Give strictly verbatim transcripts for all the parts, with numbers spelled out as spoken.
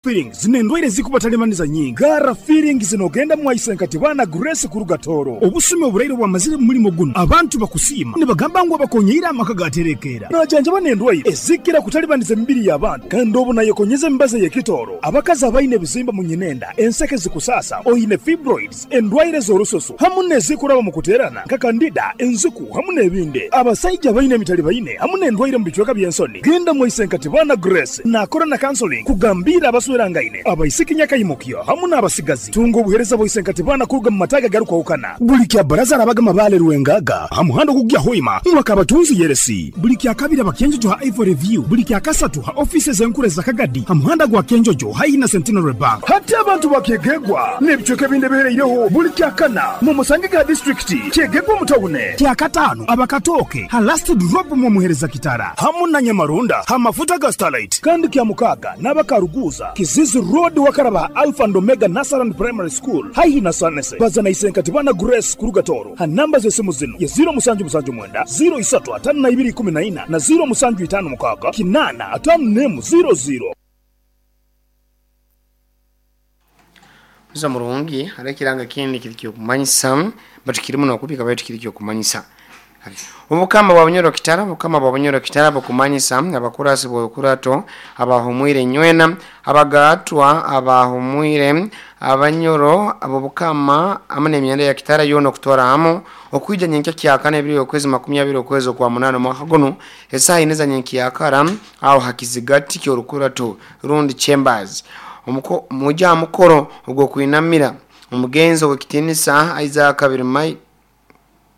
Feelings nendwaire zikubatalemaniza nyingi gara feelings zinogenda mwaisenkati bana Grace kuruga Toro obusumi oburaire bwamazire mu mulimo guno abantu bakusiima nibagamba ngu abakonyeire amaka gaterekera najanjaba nendwaire ezikira kutalibaniza emibiri y'abantu kandi obu nayekonyeza emibazi y'ekitoro abakazi abaine ebizimba mu nyinenda enseke zikusasa oine fibroids endwaire z'orususu hamu nezikuraba mu kuterana nka kandida enziku hamu n'ebindi abasaija baine emitali baine hamu n'endwaire mu bicweka by'ensoni genda mwaisenkati bana Grace nakora na counseling kugambira abaswera ngaine abaisiki nyakayimukyo hamu n'abasigazi tunga obuhereza bwaisenkati bana kuruga mu mataga garukwahukana buli kya baraza arabaga mabale rwengaga hamuhando kugya hoima mwakabatunzi yeresi buli kya kabiri abakenjojo ha Ivory View buli kya kasatu ha offices enkure za Kagadi hamuhanda gwa Kenjojo haina Centenary Bank hati abantu bakegegwa n'ebicweka ebindi bihereireho buli kya kana mu musange ga district kyegegwa mutawune kya katano abakatoke ha last drop mu muhereza kitara hamu na Nyamarunda ha mafuta ga Starlight kandi kya mukaga n'abakaruguza Kizizi Road wakaraba Alpha and Omega Nasaran Primary School haihi na Sanese bazana isenkati bana Grace kuruga Toro ha namba z'esimu zino ya zero musanju musanju mwenda zero isatu atano na ibiri kumi na ina na zero musanju itano mukaga kinana atano nemu zero zero. Muza murungi hare kiranga kindi kirikyo kumanyisa batukiri muno kubika baitu kirikyo kumanyisa Obukama bwa Bunyoro Kitara obukama bwa Bunyoro Kitara bukumanyisa abakurasi bwokurato abahumwire nywena abagatwa abahumwire abanyoro abo bukama amane emyenda ya Kitara yono kutwara hamo okuija nyenke kyakana ebiri okwezi makumyabiri okwezi kwa munano mwaka guno esaha ineza nyenke yakara aho hakizigati kyorukurato rundi chambers omuko muja mukoro ogwo kuinamira omugenzo wekitinisa Isaac Birimai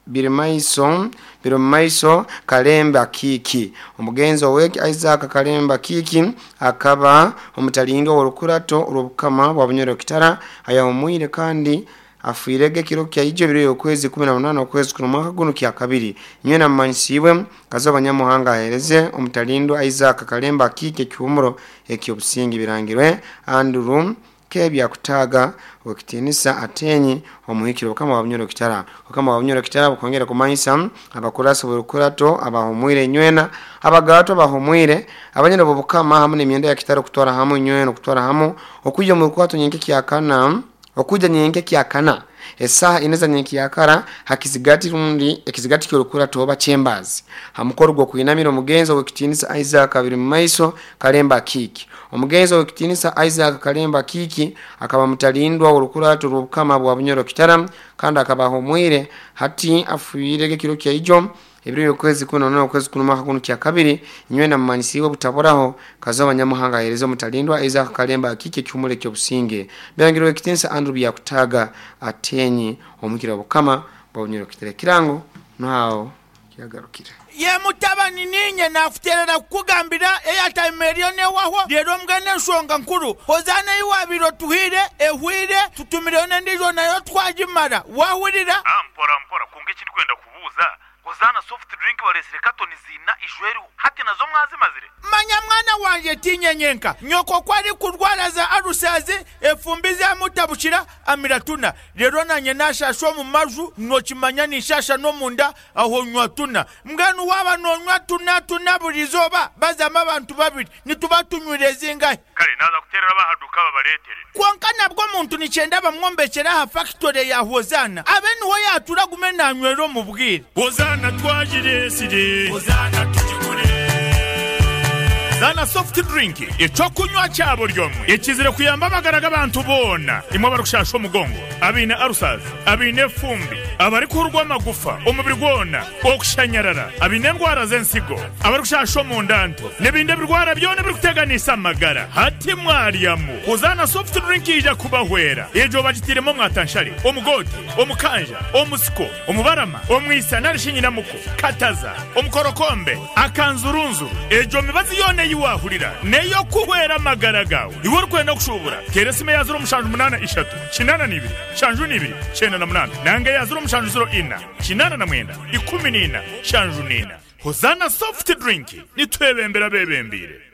Birimaiso Birimaiso Kalemba Kiki omugenzo weki Isaac Kalemba Kiki akaba omutalindo olukurato olubukama bwa Bunyoro Kitara ayahumwire kandi afuirege kiro kya ijo biri okwezi kumi na munane okwezi kuno mwaka guno kya kabiri nywena mmanisiwe kazoba nyamuhanga ahereze omutalindo Isaac Kalemba Kiki kyumuro ekyobusingi birangirwe Andrew kebya kutaga wekitinisa atenyi omuhikiro kama wa Bunyoro Kitara kama wa Bunyoro Kitara bukongera kumanyisa abakurasi burukurato abahumwire nywena abagato abahumwire abanyene bobukama hamwe n'emyenda ya Kitara kutwara hamwe nywena kutwara hamwe okuja mu rukwato nyenke kyakana okuja nyenke kyakana esaha ineza nyenke yakara hakizigati rundi ekizigati kyorukurato oba chambers hamukoro gwo kuinamira omugenzo wekitinisa Isaac Birimaiso Kalemba Kiki omugenzo wekitinisa Isaac Kalemba Kiki akaba mutalindwa olukurato rw'obukama bwa Bunyoro Kitara kandi akabahomwire hati afuirege kiro kya ijo ebiri okwezi kuno no okwezi kuno mwaka kuno kya kabiri nywena mmanisiwe butaboraho kazoba nyamuhanga ahereze mutalindwa Isaac Kalemba Kiki kyumule kyo businge birangirwe wekitinisa Andrew Byakutaga atenyi omukira bukama bwa Bunyoro Kitara kirango naho kyagarukira ye mutabani ninye nakuterera kukugambira eyatime eriyo newaho rero mbwene ensonga nkuru hozana iwabiro tuhire ehwire tutumireyo nendijo nayo twagimara wahurira Ah, mpora mpora kunga ekindi kwenda kubuuza hozana soft drink baresire katoni zina ishweriho hati nazo mwazimazire manya mwana wanje tinyenyenka nyoko kwari kurwara za arusazi efumbi zamutabukira amiratuna rero nanye nashasha omu maju nokimanya nishasha n'omunda aho nywa tuna mbwenu waba nonywa tuna tuna buri izooba bazamu abantu babiri nituba tunywire zingahe kare naza kuterera bahaduka babaretere konka nabwo omuntu nikyenda bamwombekera aha factory ya hozana abe niho yatura gume nanywera omu bwire hozana twagiresire hozana tugigure Zana soft drink ecokunywa cyabo ryomwe ekizire kuyamba amagara g'abantu bona imwe barushasha omugongo abine arusazi abine fumbi abari kurwa amagufa omubiri gwona okushanyarara abine endwara z'ensigo abari omundanto n'ebindi ebirwara byona birikuteganisa amagara hati mwaryamu Hozana soft drink ija kubahwera ejo bagitiremo mwatanshari omugote omukanja omusiko omubarama omwisa narishinyiramuko kataza omukorokombe akanzurunzuru ejo mibazi yone yiwahurira neyo kuhwera amagara gawe iwe urikwenda kushubura teresime ya zero mushanju munana ishatu kinana n'ibiri shanju n'ibiri cyenda na munana nange ya zero mushanju zero ina kinana na mwenda ikumi n'ina shanju n'ina Hozana soft drink nitwebembera bebembire.